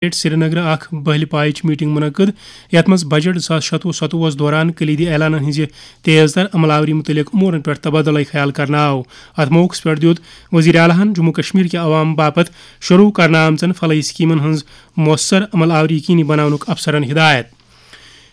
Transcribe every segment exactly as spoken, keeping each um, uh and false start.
سرینگرٕ اکھ بہلہِ پایچ میٹنگ منعقد، یتھ منٛز بجٹ زٕ ساس شتوُہ ستوُہس دوران کلیدی اعلانن ہٕنزِ تیز تر عمل آوری متعلق امورن پٮ۪ٹھ تبادلہ خیال کرنہٕ آو۔ اتھ موقعس پٮ۪ٹھ دیُت وزیر اعلیٰ ہن جموں کشمیر کہِ عوام باپتھ شروع کرنہٕ آمژن فلاحی سکیمن ہٕنز مؤثر عمل آوری یقینی بناونُک افسرن ہدایت۔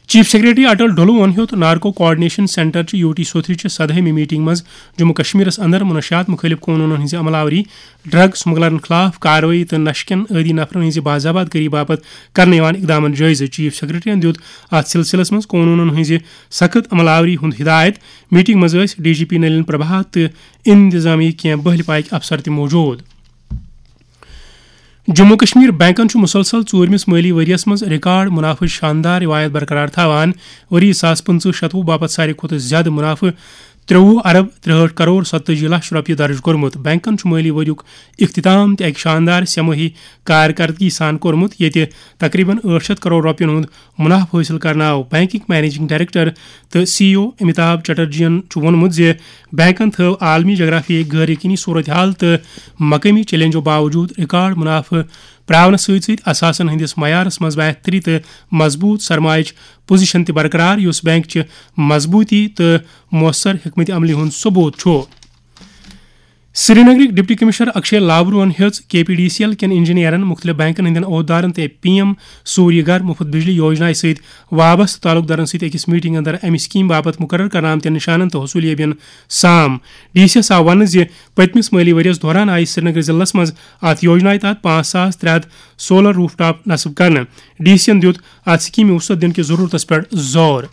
چیف سیکرٹری اٹل ڈھلوون ہیوٚت نارکو کوآرڈینیشن سینٹر چہِ یو ٹی سوتھرِ چہِ سدہٲمہِ میٹنگ منٛز جموں کشمیرس اندر منشیات مخٲلف قونوٗنن ہٕنزِ عمل آوری، ڈرگ سمگلرن خلاف کاروٲیی تہٕ نشہٕ کٮ۪ن عٲدی نفرن ہٕنزِ باضابط کٲری باپتھ کرنہٕ یِوان اقدامن جٲیزٕ۔ چیف سیکرٹریَن دیُت اتھ سلسلس منٛز قونوٗنن ہٕنزِ سخت عمل آوری ہُنٛد ہدایت۔ میٹنگ منٛز ٲسۍ D G P Nalin Prabhat تہٕ انتظامیہ کینٛہہ بہلہِ پایکۍ افسر تہِ موجود۔ جموں کشمیر بینکن چھُ مسلسل ژوٗرمِس مٲلی ؤریَس منٛز ریکارڈ منافعٕچ شاندار روایت برقرار تھاوان۔ ؤری زٕ ساس پٕنٛژٕہ شتوُہ باپتھ ساروی کھۄتہٕ زیادٕ منافعہٕ ترٛوُہ ارب ترٛہٲٹھ کرور ستتٲجی لچھ رۄپیہِ درٕج کوٚرمُت۔ بینکن چھُ مٲلی ؤریُک اختتام تہِ اکہِ شاندار سہ مٲہی کارکردگی سان کوٚرمُت، ییٚتہِ تقریباً ٲٹھ شتھ کرور رۄپین ہُنٛد منافعہٕ حٲصِل کرنہٕ آو۔ بینکٕکۍ منیجنگ ڈائریکٹر تہٕ سی ای او امیتابھ چٹرجیَن چھُ ووٚنمُت زِ بینکن تھٲو عالمی جغرافیہٕکۍ غٲر یقینی صورتحال تہٕ مقٲمی چیلنجو باوجود ریکارڈ منافعہٕ پراونس سۭتۍ سۭتۍ اثاثن ہٕنٛدِس معیارس منٛز بہتری تہٕ مضبوط سرمایچ پوزیشن تہِ برقرار، یُس بینک چہِ مضبوطی تہٕ مؤثر حکمت عملی ہُنٛد ثبوت چھُ۔ سرینگرٕکۍ ڈپٹی کمشنر اکشے لاورون ہیٚژ کے پی ڈی سی ایل کٮ۪ن انجینئرن، مُختٔلِف بینکن ہٕنٛدٮ۪ن عہدٕدارن تہٕ پی ایم سوریہ گھر مُفت بجلی یوجنا سۭتۍ وابستہٕ تعلقدارن سۭتۍ أکِس میٹنگ اندر امہِ سکیمہِ باپتھ مُقرر کرنہٕ آمتٮ۪ن نشانن تہٕ حصوٗلیٲبین سام۔ ڈی سی یس آو وننہٕ زِ پٔتمِس مٲلی ؤرۍ یَس دوران آیہِ سرینگر ضلعس منٛز اتھ یوجنایہِ تحت پانٛژھ ساس ترٛےٚ ہتھ سولر روف ٹاپ نصب کرنہٕ۔ ڈی سی ین دیُت اتھ سکیمہِ وسعت دِنہٕ کِس ضروٗرتس پٮ۪ٹھ زور۔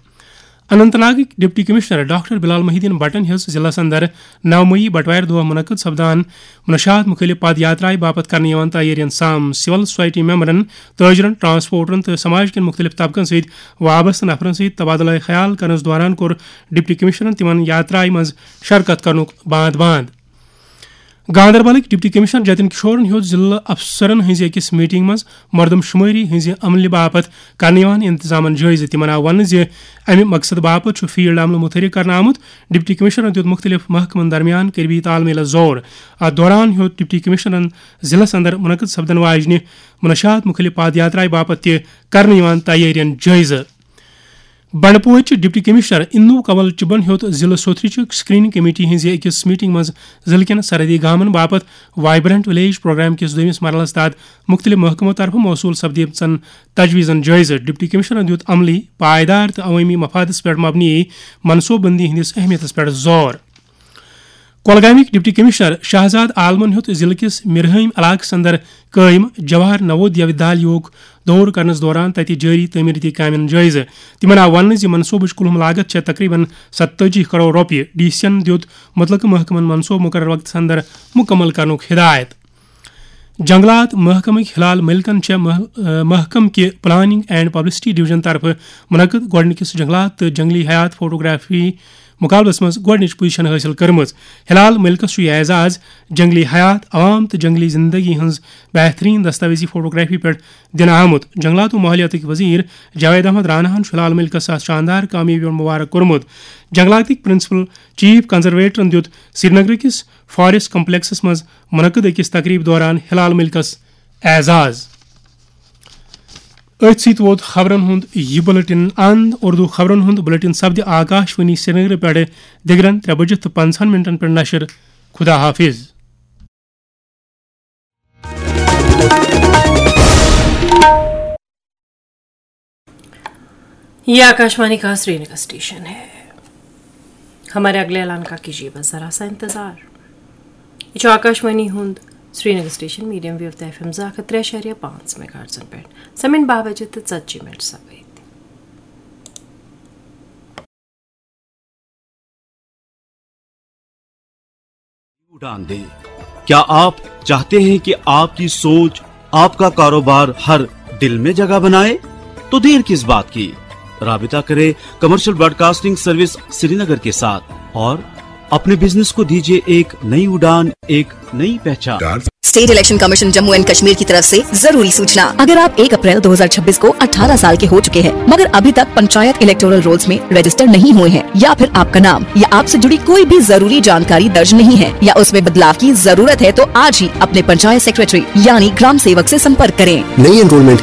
اننت ناگٕکۍ ڈپٹی کمشنر ڈاکٹر بلال محی الدین بٹن ہیٚژ ضلعس اندر نو مئی بٹوارِ دۄہ منعقد سپدان منشیات مُخٲلف پد یاترایہِ باپتھ کرنہٕ یِوان تیٲرین سام۔ سول سوسائٹی ممبرن، تاجرن، ٹرانسپورٹرن تہٕ سماج کٮ۪ن مُختٔلِف طبقن سۭتۍ وابستہٕ نفرن سۭتۍ تبادلہ خیال کرنس دوران کوٚر ڈپٹی کمشنرن تِمن یاترایہِ منٛز شرکت کرنُک باند باند۔ گاندربلٕکۍ ڈپٹی کمشنر جتن کشورن ہیوٚت ضلعہٕ افسرن ہٕنٛزِ أکِس میٹنگ منٛز مردم شمٲری ہٕنٛزِ عملہِ باپتھ کرنہٕ یِوان انتظامن جٲیزٕ۔ تِمن آو وننہٕ زِ امہِ مقصدٕ باپتھ چھُ فیلڈ عملہٕ متحرک کرنہٕ آمُت۔ ڈپٹی کمشنرن دیُت مُختٔلِف محکمن درمیان قریبی تال میلس زور۔ اتھ دوران ہیوٚت ڈپٹی کمشنرن ضلعس اندر منعقد سپدن واجنہِ منشیات مُخٲلف پد یاترایہِ باپتھ تہِ کرنہٕ یِوان تیٲرین جٲیزٕ۔ بنڈپورچہِ ڈپٹی کمشنر انو کنول چبن ہیوٚت ضلعہٕ سوتھرٕچہِ سکریننگ کمیٹی ہٕنٛزِ أکِس میٹنگ منٛز ضلعہٕ کٮ۪ن سرحدی گامن باپتھ وائبرنٹ ولیج پروگرام کِس دوٚیمِس مرحلس تحت مُختٔلِف محکمو طرفہٕ موصوٗل سپدیمژن تجویزن جٲیزٕ۔ ڈپٹی کمشنرن دیُت عملی، پائیدار تہٕ عوٲمی مفادس پٮ۪ٹھ مبنی منصوبہٕ بندی ہٕنٛدِس اہمیتس پٮ۪ٹھ زور۔ کۄلگامٕکۍ ڈپٹی کمشنر شہزاد عالمن ہیوٚت ضلعہٕ کِس مِرہٲمۍ علاقس اندر قٲیِم جواہر نوودیا ودیالیہُک دورٕ کرنس دوران تتہِ جٲری تعمیٖرٲتی کامٮ۪ن جٲیزٕ۔ تِمن آو وننہٕ زِ منصوبٕچ کُلہُم لاگت چھےٚ تقریباً ستتٲجی کرور رۄپیہِ۔ ڈی سی ین دیُت مُتعلقہٕ محکمن منصوبہٕ مُقررٕ وقتس اندر مُکمل کرنُک ہدایت۔ جنگلات محکمٕکۍ ہلال ملکن چھےٚ مح-، محکمہٕ کہِ پلاننگ اینڈ پبلسٹی ڈویژن طرفہٕ منعقد گۄڈٕنِکِس جنگلات تہٕ جنگلی حیات فوٹوگرافی مقابلس منٛز گۄڈٕنِچ پوزیشن حٲصِل کٔرمٕژ۔ ہلال ملکس چھُ یہِ اعزاز جنگلی حیات، عوام تہٕ جنگلی زندگی ہٕنٛز بہترین دستاویزی فوٹوگرافی پٮ۪ٹھ دِنہٕ آمُت۔ جنگلات و ماحولیاتٕکۍ وزیر جاوید احمد راناہن چھُ ہلال ملکس اتھ شاندار کامیٲبی پٮ۪ٹھ مبارک کوٚرمُت۔ جنگلاتٕکۍ پرنسپل چیف کنزرویٹرن دیُت سرینگرٕ کِس فاریسٹ کمپلیکسس منٛز منعقد أکِس تقریب دوران ہلال ملکس اعزاز۔ أتھۍ سۭتۍ ووت خبرن ہُنٛد یہِ بُلٹن اند۔ اردو خبرن ہُنٛد بُلٹن سپدِ آکاش وانی سرینگرٕ پٮ۪ٹھٕ دِگرن ترٛےٚ بجہِ تہٕ پنٛژاہن منٹن پٮ۪ٹھ نشر۔ خدا حافظ۔ یہ آکاشوانی کا سرینگر اسٹیشن ہے۔ ہمارے اگلے اعلان کا کیجیے بس ذرا سا انتظار۔ یہ چھُ آکاشوانی ہُنٛد سرینگر اسٹیشن، میڈیم ویو تہٕ ایف ایم زٕ ہتھ ترٛےٚ اعشاریہ پانٛژھ میگا ہرٹزن پٮ۪ٹھ۔ سمن باہ بجے تہٕ ژتجی منٹ سپدۍ۔ उड़ान दे। क्या आप चाहते हैं कि आपकी सोच, आपका कारोबार हर दिल में जगह बनाए? तो देर किस बात की, राबिता करें कमर्शियल ब्रॉडकास्टिंग सर्विस श्रीनगर के साथ और अपने बिजनेस को दीजिए एक नई उड़ान, एक नई पहचान। State election commission Jammu and Kashmir की तरफ से जरूरी सूचना। अगर आप एक अप्रैल दो हज़ार छब्बीस को अठारह साल के हो चुके हैं मगर अभी तक पंचायत इलेक्टोरल रोल्स में रजिस्टर नहीं हुए हैं या फिर आपका नाम या आपसे जुड़ी कोई भी जरूरी जानकारी दर्ज नहीं है या उसमें बदलाव की जरूरत है तो आज ही अपने पंचायत सेक्रेटरी यानी ग्राम सेवक से संपर्क करें। नई एनरोलमेंट के